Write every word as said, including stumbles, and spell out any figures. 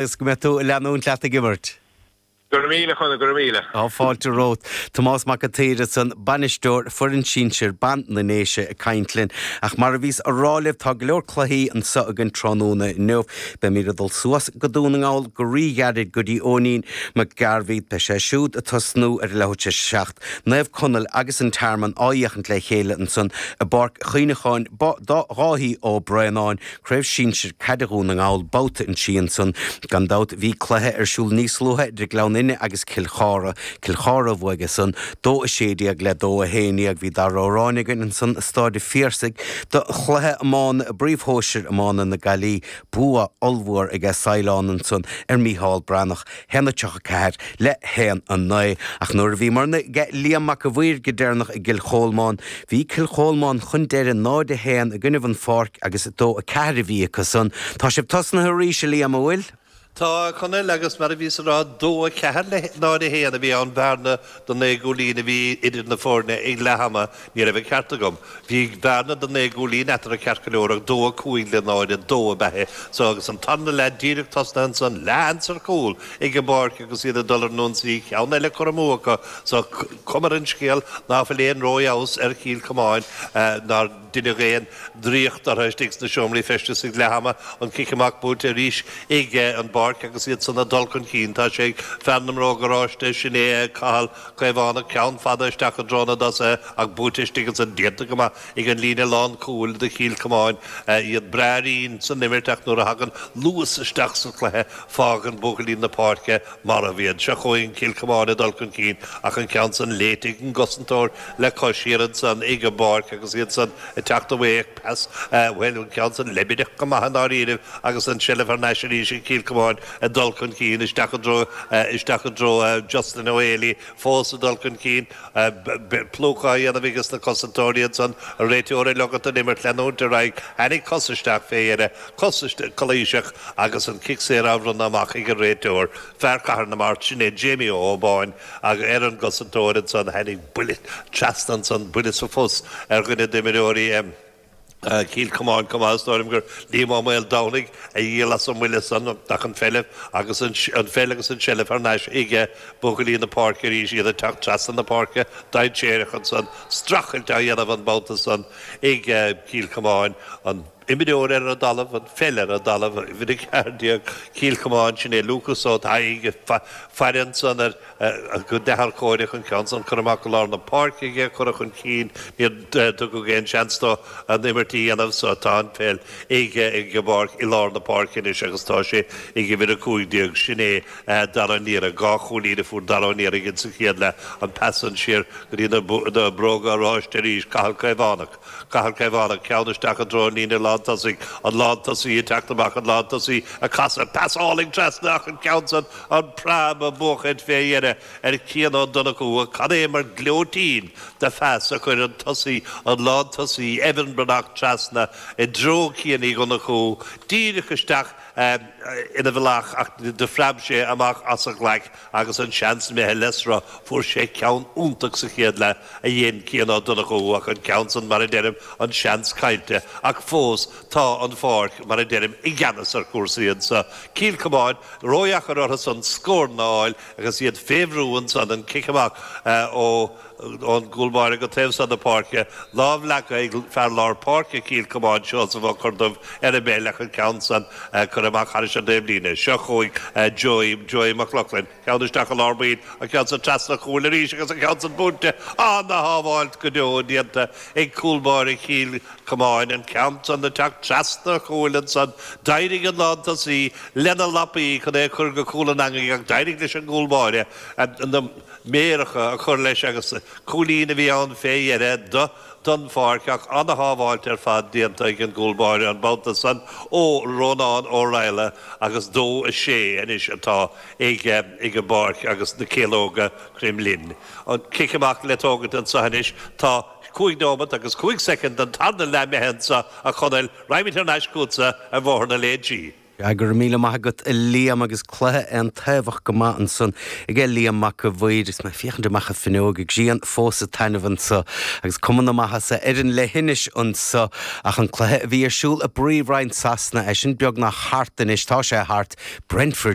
Agus go mbeidh tú ag leanúint leat ag imirt. Go raibh míle chuna go raibh míle. Tá fáilte romhat Tomás Mac an tSaoir san bainisteoir foireann sinsir ban na nDéise ag caint linn ach mar a bhíos á rá libh tá go leor cluichí anseo againn tráthnóna inniu. Beimid ag dul suas go Dún na nGall go ríghairid go dtí Eoinín Mac Gairbhí beidh sé siúd ag tosnú ar leathuair tar éis a seacht. Naomh Conaill agus an Tearmann á fhéachaint le chéile ansan i bPáirc Chuimhneacháin Dháithí Ó Braonáin, Craobh Sinsir Caide Dhún na nGall babhta a trí ansan gan dabht bhí cluiche ar siúl níos luaithe idir Gleann Fhinne agus Cill Chartha Cill Chartha a bhuaigh san dó a sé déag le dó a haon déag bhí Dara Ó Ráinne againn ansan i Staid an Phiarsaigh do chluiche iomána i bpríomhshóisir iomána na Gaillimhe bua ollmhór aige Saighleán ansan ar Mícheál Breathnach haon a tríocha ceathair le haon a naoi ach nuair a bhí marna ge Liam Mac a bhuir go deireanach i gCill Cholmáin bhí Cill Cholmáin chun deireadh náid a haon i gcoinnibh an Pháirc agus dó a ceathair a bhí acu san Tá sibh tosnaithe arís a Liam an bhfuil? Tá Conall agus mar a bhí sa rá dó a ceathair le náid a haon a bhí an bhearna do naoi gcúilín a bhí idir na foirne ag leath ama ní raibh an ceart agam. Bhí bearna do naoi gcúilín eatarthu ceart go leor ach dó a cúig le náid a dó a beithe so agus an tarna leath díreach tosnaithe ansan leath ar chúl ag an bPáirc agus iad ag dul ar an ionsaí ceann eile curtha amú acu so cuma ar an scéal ná fuil aon rófheabhas ar Chill Chomáin nár deineadh aon draíocht orthu istigh sna seomraí feistis ag leath ama an cic amach buaite arís ag an bPáirc agus iad san ag dul chun cinn tá sé fear na mbróg oráiste sin é Cathal Caomhánach ceann fada isteach i dtreo na dtosaithe ach buaite istigh ansan déanta go maith ag an líne lán cúil do Chill Chomáin iad breá righin san imirt ach nuair a thagann luas isteach sa chluiche fágann buachaillí na páirce marbh iad seo chugainn Cill Chomáin ag dul chun cinn ach an ceann san léite ag an gcosantóir le cois siar ansan ag an bPáirc agus iad san ag teacht away pas bhuel an ceann san leibideach go maith an áiríomh agus an seilbh thar n-ais arís ag Cill Chomáin ag dul chun cinn isteach i dtreo isteach i dtreo Justin O'Haley fós ag dul chun cinn plúchadh á dhéanamh agus na cosantóirí ansan a réiteoir ag ligean don imirt leanúint ar aghaidh tháinig cos isteach fé dheireadh cos calaoiseach agus an cic saor á bhronnadh amach ag an réiteoir fear Chathair na Mart sin é Jamie Ó Báin ag ar an gcosantóir ansan tháinig buille trasna ansan buille sa phus ar dhuine d'imreoirí Cill Chomáin cumastóim gur Liam Ó Maoldomhnaigh a dhíol as an mbuille san ach an pheil agus an pheil agus an tseilbh thar n-ais ag buachaillí na páirce arís iad ag teacht trasna na páirce dainséarach ansan streachailt á dhéanamh an babhta san ag Cill Chomáin an imreoir ar an dtalamh an pheil ar an dtalamh uimhir a ceathair déag Cill Chomáin sin é Lucas Ó Thaidhg faire ansan ar go dearcóireach an ceann san curtha amach go lár na páirce aige curtha chun cinn níor tugadh aon seans dó an imirt a dhéanamh so tá an pheil ag ag an bpáirc i lár na páirce anois agus tá sé ag uimhir a cúig déag sin é Dara Niara dhá chúilín a fuair Dara Niara sa chéad leath an pas an siar go dtí na bróga oráiste arís Cathal Caomhánach Cathal Caomhánach ceann isteach i dtreo an líne lántosaigh an lántosaí ag teacht amach an lántosaí ag casadh pasáil trasna ach an ceann san an preab a buachaint fé dheireadh ar Cian Ó Donnchú cad é mar gleoitín de phas a chuir an tosaí an lántosaí Evan Breathnach trasna i dtreo Cian Uí Dhonnchú díreach isteach ina bhealach ach do phreab sé amach as a ghlaic agus an seans imithe le sruth fuair sé ceann iontach sa chéad leath a dhein Cian Ó Donnchú ach an ceann san mar a deirim an seans caillte ach fós tá an pháirc mar a deirim i gceannas ar chúrsaí anseo. Cill Chomáin ródheacair orthu san scór a fháil agus iad fé bhrú ansan an cic amach ó ón gcúlbáire go taobh san na páirce, lámh leagtha ag fear lár páirce Cill Chomáin Seosamh Ó Corduibh ar an bpeil ach an ceann san curtha amach thar an dtaobhlíne. Seo chugainn Joey Joey Mac Lochlainn, ceann isteach i lár baill an ceann san trasna chúil arís agus an ceann san buailte ana-shábháilt go deo déanta ag cúlbáire Chill Chomáin an ceann san ag teacht trasna chúil ansan d'éirigh an lántosaí lena lapaí chun é chur go cúl an eangaigh ach d'éirigh leis an gcúlbáire na méaracha a chur leis agus cúilín a bhí ann fé dheireadh do don pháirc ach ana-shábháilt ar fad déanta ag an gcúlbáire an babhta san ó Rónán Ó Raghallaigh agus dó a sé anois atá ag ag an bpáirc agus na Céalóga Cromghlinn. An cic amach le tógaint anseo anois tá cúig nóiméad agus cúig soicind den tarna leath imithe anseo a Chonaill raghaimid thar n-ais chugatsa ar Bhóthar na Léinsí. Go raibh míle maith agat a Liam agus cluiche an-tábhachtach go maith ansan ag Liam Mac a' Mhaoir is mé féachaint amach an fhuinneog ag grian fós ag taitneamh anseo agus cuma na maitheasa ar an leithinis anseo ach an cluiche a bhí ar siúl i bPríomhroinn Sasana é sin beagnach thart anois tá sé thart Brentford